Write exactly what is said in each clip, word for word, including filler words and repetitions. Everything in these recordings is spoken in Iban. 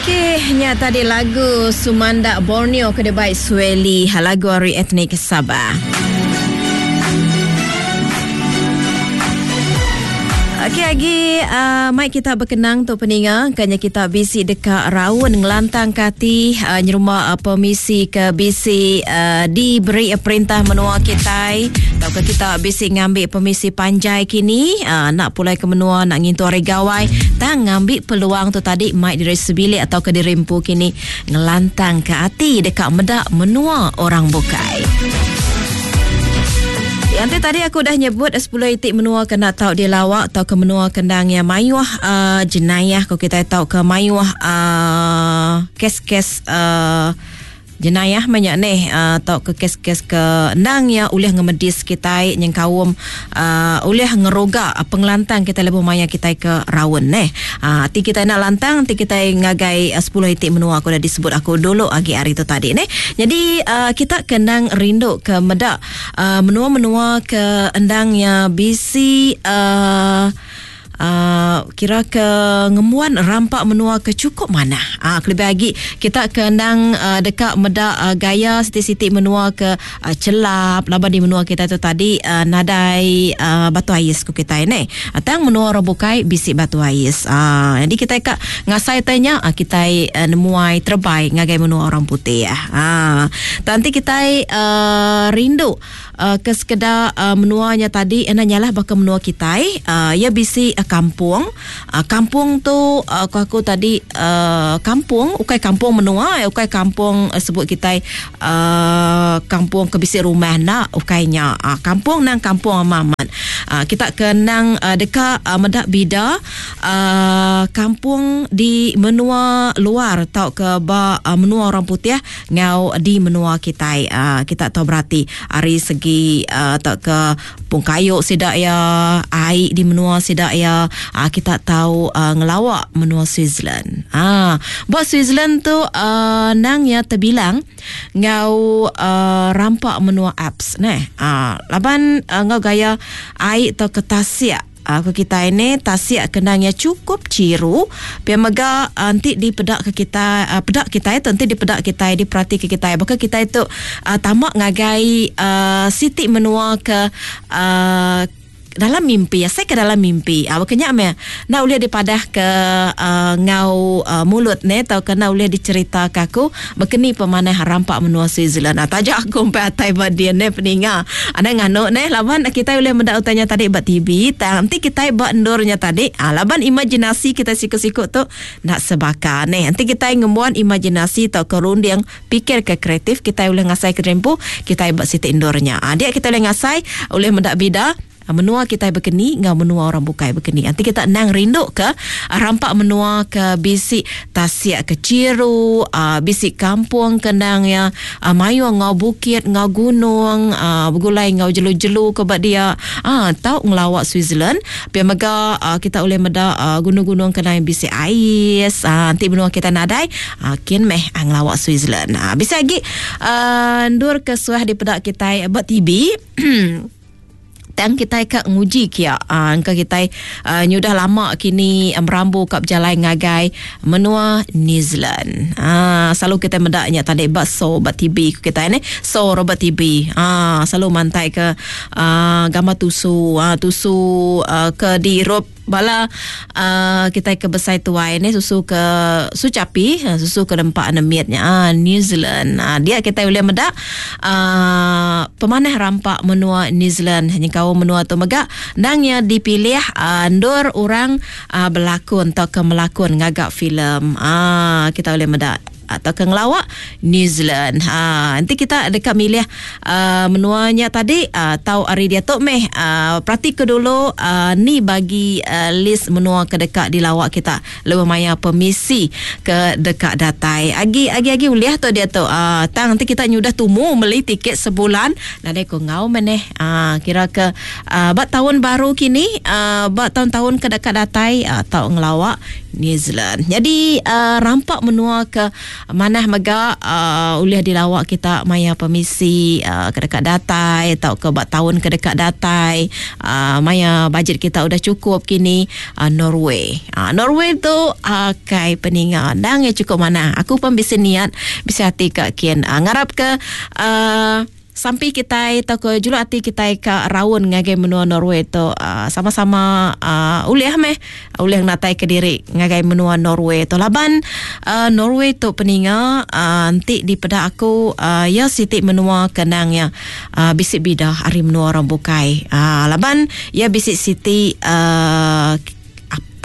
Okey, nya tadi lagu Sumandak Borneo ke debai Sueli, lagu ari etnik Sabah. Okey, lagi uh, mai kita berkenang tu peninga kanya kita bisi dekat raun ngelantang kati uh, nyerumah uh, permisi ke bisi uh, diberi uh, perintah menua kita atau ke kita bisi ngambil permisi panjai kini uh, nak pulai ke menua nak ngintu hari gawai tang ngambil peluang tu tadi mai diri sebilik atau ke diri empu kini ngelantang ke hati dekat medak menua orang bukai. Yang tadi aku dah nyebut sepuluh itik menua kena tahu dia lawak atau ke menua kendang yang mayuh uh, jenayah kalau kita tahu ke mayuh uh, kes-kes uh, jenayah banyak ni atau uh, ke kes-kes ke endang ya ulih ngemedis kita nyengkaum uh, ulih ngeroga uh, pengelantang kita lebuh maya kita ke raun neh. Uh, ti kita nak lantang ti kita ngagai uh, sepuluh itik menua aku dah disebut aku dulu agi hari tu tadi neh. Jadi uh, kita kenang rindu ke medak uh, menua-menua ke endang ya bisi uh, Uh, kira ke ngemuan rampak menua ke cukup mana. Ah uh, lebih lagi kita kenang uh, dekat medak uh, gaya siti-siti menua ke uh, celap laba di menua kita tu tadi uh, nadai uh, batu ais ku kita ni. Atang menua orang bukai bisik batu ais. Ah uh, jadi kita kak ngasai tanya uh, kita uh, nemuai terbaik ngagai menua orang putih ya. Ah uh, nanti kita uh, rindu uh, ke sekedar uh, menuanya tadi ena nyalah bakal menua kita uh, ya bisi uh, kampung. Uh, kampung tu uh, aku, aku tadi uh, kampung ukai kampung menua ukai kampung uh, sebut kita uh, kampung ke bisi rumah nak ukainya uh, kampung nang kampung amamat. Uh, kita kenang uh, dekat uh, medak bida uh, kampung di menua luar tau ke ba uh, menua orang putih ngau di menua kita uh, kita tahu berarti ari segi uh, tak ke pungkayu sidak ya air di menua sidak ya uh, kita tahu uh, ngelawak menua Switzerland. Ah, buat Switzerland tu uh, nang ya terbilang ngau uh, rampak menua Alps neh. Ah, laban uh, ngau gaya air atau ke tasik. Aku kita ini tasik kenangnya cukup ciru pia mega nanti di pedak ke kita uh, pedak kita itu nanti di pedak kita diperhati ke kita bakal kita itu uh, tamak ngagai uh, siti menua ke uh, dalam mimpi ya saya ke dalam mimpi ah kenyak me nak boleh dipadah ke uh, ngau uh, mulut ne atau kena boleh dicerita ke aku berkeni pemanah rampak menua Switzerland. Ah tajak aku sampai atai ba dia ne peninga ada nganu ne laban kita boleh mendak utanya tadi ba T V tang nanti kita ba endurnya tadi ah laban imajinasi kita sikut-sikut tu nak sebaka ne nanti kita ngemuan imajinasi atau kerunding pikir ke kreatif kita boleh ngasai ke rempu kita ba siti endurnya ah dia kita boleh ngasai boleh mendak bida menua kita berkeni ngau menua orang bukai berkeni. Nanti kita nang rindu ke rampak menua ke bisik tasik ke ciru, uh, bisik kampung kendang ya uh, mayu ngau bukit ngau gunung, uh, bergulai ngau jelu-jelu ke bak dia. Ah uh, tau ngelawak Switzerland. Pia mega uh, kita boleh meda uh, gunung-gunung kendang bisik ais. Uh, nanti menua kita nadai uh, kin meh uh, ngelawak Switzerland. Uh, bisa lagi uh, ndur ke suah di pedak kita buat T V. Tang kita ke nguji kia uh, angka kita uh, nyudah lama kini merambu kap jalan ngagai menua New Zealand. Ah uh, selalu kita medaknya tadi bak so bak T V kita ni so robot T V. Ah uh, selalu mantai ke uh, gambar tusu uh, tusu uh, ke di Europe bala uh, kita ke besai tuai ni susu ke sucapi susu ke nempak nemitnya uh, New Zealand. Uh, dia kita boleh medak uh, pemanah rampak menua New Zealand hanya kau menua tu megak nangnya dipilih uh, ndur orang uh, berlakon atau ke melakon ngagak filem. Ah uh, kita boleh medak atau ke ngelawak New Zealand. Ha, nanti kita dekat milih uh, menuanya tadi uh, tahu hari dia tu meh uh, perhati ke dulu uh, ni bagi uh, list menua ke dekat di lawak kita lebih maya permisi ke dekat datai. Agi agi agi uliah tu dia tu. Uh, tang nanti kita nyudah tumu beli tiket sebulan. Nah dek ngau meneh. Uh, kira ke uh, bak tahun baru kini uh, bak tahun-tahun ke dekat datai uh, tau ngelawak New Zealand. Jadi uh, rampak menua ke manah mega uh, ulih dilawak kita maya permisi uh, ke dekat datai atau ke bak tahun ke dekat datai uh, maya bajet kita udah cukup kini uh, Norway. Uh, Norway tu uh, kai peninga dang ya cukup manah. Aku pun bisa niat bisa hati ke kian uh, ngarap ke uh, sampai kita atau ke juluk hati kita ke raun ngagai menua Norway tu uh, sama-sama uh, ulih meh ulih natai ke diri ngagai menua Norway tu laban uh, Norway tu peninga uh, nanti di peda aku uh, ya siti menua kenang ya uh, bisik bidah hari menua orang bukai uh, laban ya bisik siti uh,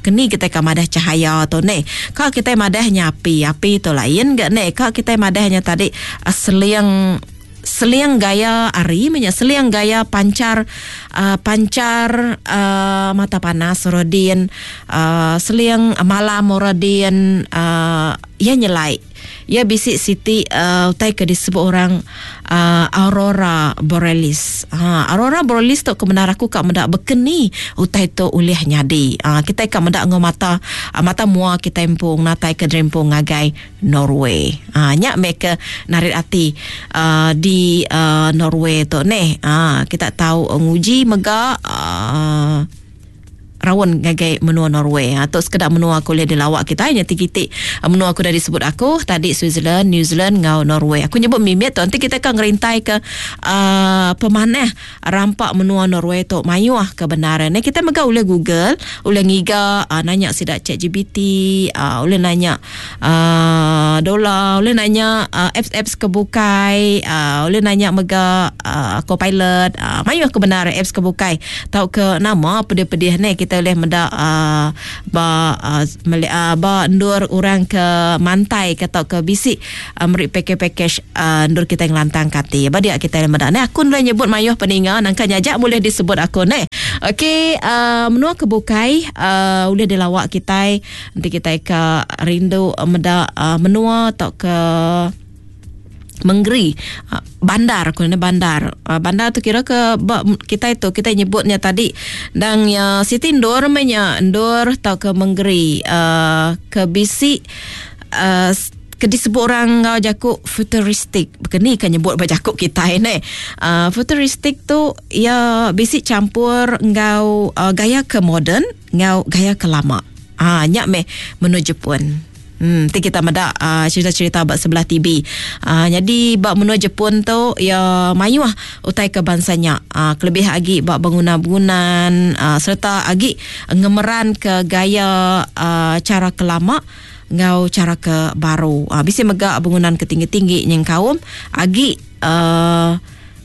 keni kita ka madah cahaya tu ni. Ka kita madahnya api, api tu lain gak ni. Ka kita madahnya tadi uh, seling seling gaya ari menya seling gaya pancar uh, pancar uh, mata panas rodin uh, seling malam rodin uh, ia nyelai ia bisik siti uh, utai ke disebut orang uh, aurora borealis. Ha, aurora borealis tu kebenar aku kak mendak bekeni utai tu ulih nyadi. Ha, kita kak mendak ngau mata mata mua kita empung natai ke drempung ngagai Norway. Ha, nyak mereka narik hati uh, di uh, Norway tu neh. Ha, kita tahu uh, nguji mega uh, rawan ngagai menua Norway. Ha, tu sekedar menua aku lihat di lawak kita hanya tiga-tiga menua aku dah disebut aku tadi Switzerland, New Zealand ngau Norway. Aku nyebut mimit tu nanti kita akan ngerintai ke uh, pemanah rampak menua Norway tu mayuah kebenaran. Ni kita mega boleh Google, boleh ngiga uh, nanya sidak Chat G P T, uh, boleh nanya uh, dola, boleh nanya uh, apps-apps kebukai, uh, boleh nanya mega uh, Copilot, uh, mayuah kebenaran apps kebukai. Tahu ke nama pedih-pedih ni kita boleh mendak uh, ba uh, uh, ba ndur orang ke mantai ke atau ke bisik uh, meri package-package uh, ndur kita yang lantang kati. Ba dia kita mendak ni aku boleh nyebut mayuh peninga nangka nyajak boleh disebut aku ni. Okey, uh, menua ke bukai uh, boleh dilawak kita nanti kita ke rindu uh, mendak uh, menua atau ke Menggeri bandar aku ni bandar bandar tu kira ke kita itu kita nyebutnya tadi dan ya siti ndur menya ndur atau ke Menggeri uh, ke bisi uh, ke disebut orang ngau jakuk futuristik bekeni kan nyebut ba jakuk kita ni uh, futuristik tu ya bisi campur ngau uh, gaya ke moden ngau gaya ke lama. Ah nyak meh menuju Jepun. Hmm, nanti kita medak uh, cerita-cerita bab sebelah T V. Uh, jadi bab menua Jepun tu ya mayuah utai ke bangsanya. Uh, kelebih agi bab bangunan-bangunan uh, serta agi ngemeran ke gaya uh, cara ke lama ngau cara ke baru. Uh, bisa megak bangunan ke tinggi-tinggi nyeng kaum agi uh,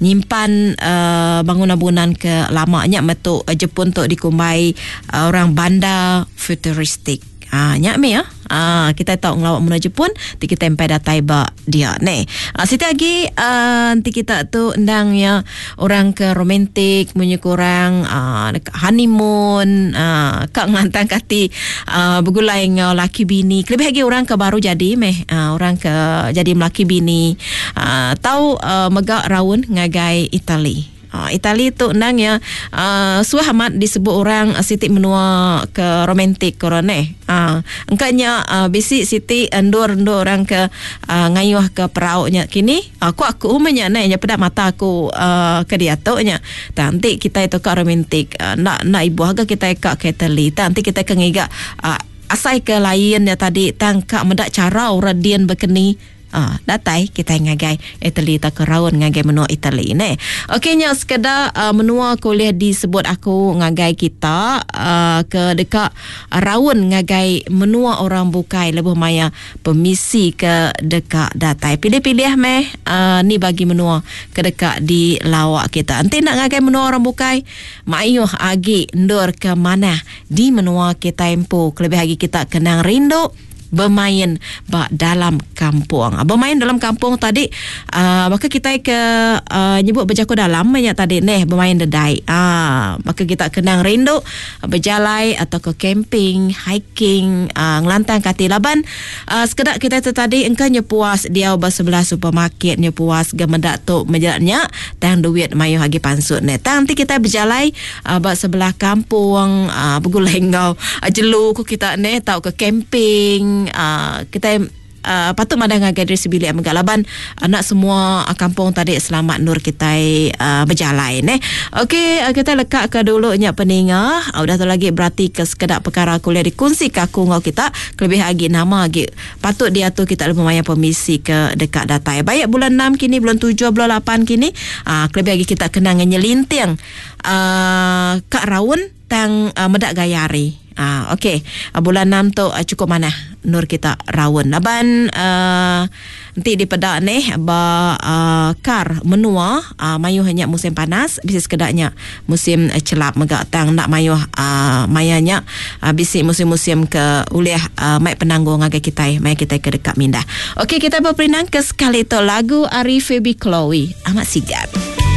nyimpan uh, bangunan-bangunan ke lamanya metu uh, Jepun tu dikumbai uh, orang bandar futuristik. Ah, nyak me ya. Ah, kita tahu ngelawak menua Jepun, ti kita empai datai ba dia ne. Ah, siti lagi uh, nanti kita tu endang ya orang ke romantik munyi kurang ah, honeymoon, ah, kak ngelantang kati ah, bergulai ngau laki bini. Lebih lagi orang ke baru jadi meh, ah, orang ke jadi melaki bini. Ah, tahu uh, megak raun ngagai Itali. Uh, Itali tu nang ya uh, suah amat disebut orang uh, siti menua ke romantik korone. Ah, uh, engkanya uh, bisi siti endur-endur orang ke uh, ngayuh ke perauknya kini. Aku uh, aku umanya naik nya pedak mata aku uh, ke dia tu nya. Nanti kita itu ke romantik. Uh, nak nak ibu harga kita ke Itali. Nanti kita ke ngiga uh, asai ke lainnya tadi tangkap mendak cara orang dian berkeni. Ah, datai kita ngagai Itali tak keraun ngagai menua Itali ne. Okey nya sekedar uh, menua kuliah disebut aku ngagai kita uh, ke dekat raun ngagai menua orang bukai lebuh maya permisi ke dekat datai. Pilih-pilih meh uh, ni bagi menua ke dekat di lawak kita. Nanti nak ngagai menua orang bukai mayuh agi ndur ke mana di menua kita empu. Kelebih lagi kita kenang rindu Bermain ba dalam kampung. Bermain dalam kampung tadi uh, baka kita ke uh, nyebut berjaku dalam nya tadi neh bermain dedai. Ah, baka kita kenang rindu berjalai atau ke camping, hiking, uh, ngelantang kati laban uh, sekedak kita tu tadi engka nyepuas dia ba sebelah supermarket nyepuas gemedak tu mejaknya tang duit mayuh agi pansut neh. Tang nanti kita berjalai uh, ba sebelah kampung uh, begulai ngau uh, jelu ku kita neh tau ke camping. Uh, kita uh, patut madang ngagai diri sebilik mega laban anak semua uh, kampung tadi selamat nur kita uh, berjalai neh. Okey, uh, kita lekak ke dulu nya peninga. Uh, udah tu lagi berarti ke sekedak perkara kuliah dikongsi ke aku ngau kita kelebih agi nama agi patut dia tu kita lebih maya permisi ke dekat datai. Baik bulan enam kini, bulan tujuh, bulan lapan kini, uh, kelebih agi kita kena nyelinting uh, kak raun tang uh, medak gayari. Ah, okey. Uh, bulan enam tu uh, cukup mana nur kita raun. Laban uh, nanti di pedak ni ba uh, kar menua uh, mayuh hanya musim panas, bisi sekedaknya musim uh, celap mega tang nak mayuh uh, mayanya uh, bisi musim-musim ke uliah uh, mai penanggung ngagai kita, mai kita ke dekat mindah. Okey, kita berperinang ke sekali tu lagu Ari Feby Chloe. Amat sigat.